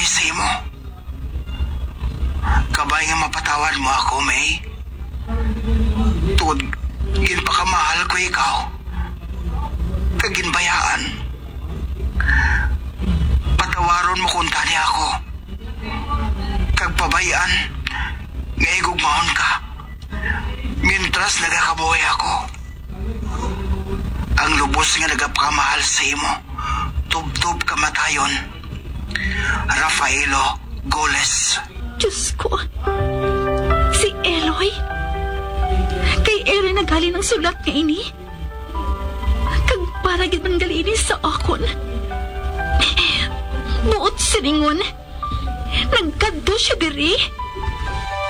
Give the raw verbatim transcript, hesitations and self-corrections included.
sa imo. Kabay nga mapatawad mo ako, May. Tungod ginpakamahal ko ikaw, kag ginbayaan. Patawaron mo kuntani ako, kag pabay-an nga higugmaon ka. Mientras nagakabuhi ako, ang lubos nga nagapakamahal sa imo, tubtob kamatayon. Rafaelo Goles. Diyos ko, si Eloy? Kay Eloy naghalin ang sulat nga ini? Kag para gid man gali ini sa akon. Buot silingon, nagkadto siya diri.